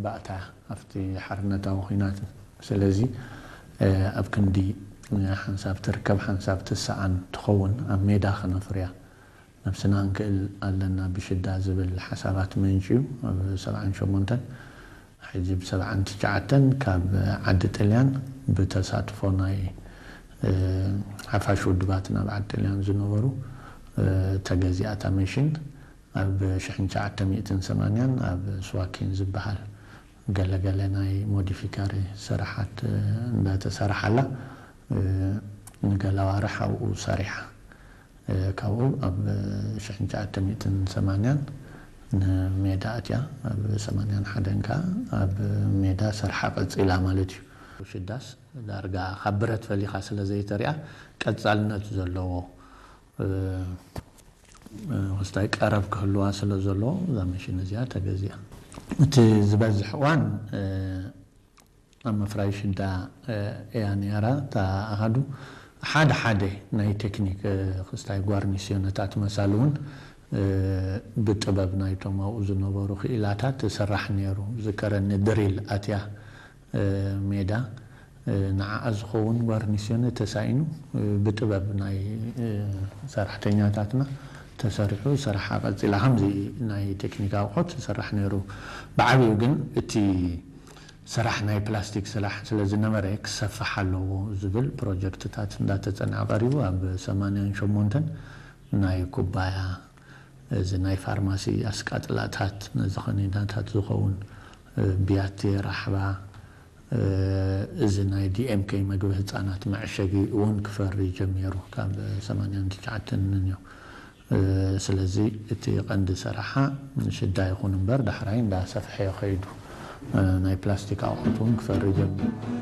ባእታ ኣብቲ ሓርነታዊ ኲናት። ስለዚ ኣብ ክንዲ ሓንሳብ ትርከብ ሓንሳብ ትሰኣን ትኸውን ኣብ ሜዳ ክነፍርያ ነብስና ንክእል ኣለና ብሽዳ ዝብል ሓሳባት መንጭዩ ኣብ ሰብዓን ሸሞንተን ሕጂ ብ ሰብዓን ትሽዓተን ካብ ዓዲ ጥልያን ብተሳትፎ ናይ ሓፋሽ ውድባት ናብ ዓዲ ጥልያን ዝነበሩ ተገዚኣታ መሽን ኣብ ሽሕን ትሽዓተ ሚእትን ሰማንያን ኣብ ስዋኪን ዝበሃል ገለገለ ናይ ሞዲፊካሪ ስራሓት እንዳተሰርሓላ ንገለ ኣዋርሕ ኣብኡ ሰሪሓ። ካብኡ ኣብ ሽሕን ትሽዓተ ሚእትን ሰማንያን ንሜዳ ኣትያ ኣብ ሰማንያን ሓደን ከዓ ኣብ ሜዳ ሰርሓ ቀፂላ ማለት እዩ። ሽዳስ ዳርጋ ካብ ብረት ፈሊኻ ስለ ዘይተሪኣ ቀፃልነት ዘለዎ ክስታይ ቀረብ ክህልዋ ስለ ዘለዎ እዛ መሽን እዚኣ ተገዚኣ። እቲ ዝበዝሕ እዋን ኣብ ምፍራይ ሽዳ እያ ነይራ እታ ኣሃዱ። ሓደ ሓደ ናይ ቴክኒክ ክስታይ ጓርኒስዮነታት መሳሉ እውን ብጥበብ ናይቶም ኣብኡ ዝነበሩ ክኢላታት ትስራሕ ነይሩ። ዝከረኒ ድሪል ኣትያ ሜዳ ንዓኣ ዝኸውን ጓርኒስዮነ ተሳኢኑ ብጥበብ ናይ ሰራሕተኛታትና ተሰሪሑ ስራሓ ቀፂላ። ከምዚ ናይ ቴክኒክ ኣቑሑት ይስራሕ ነይሩ። ብዓብዩ ግን እቲ ስራሕ ናይ ፕላስቲክ ስራሕ ስለ ዝነበረ ክሰፍሕ ኣለዎ ዝብል ፕሮጀክትታት እንዳተፀንዐ ቀሪቡ ኣብ ሰማንያን ሸሞንተን ናይ ኩባያ እዚ ናይ ፋርማሲ ኣስቃጥላታት ነዚ ከኒናታት ዝኸውን ብያቲ ራሕባ እዚ ናይ ዲኤምኬ መግቢ ህፃናት መዕሸጊ እውን ክፈሪ ጀሚሩ ካብ ሰማንያን ትሽዓተን እዩ። ስለዚ እቲ ቀንዲ ሰራሓ ሽዳ ይኹን እምበር ዳሕራይ እንዳሰፍሐ ከይዱ ናይ ፕላስቲክ ኣቑሑት እውን ክፈሪ ጀሚሩ።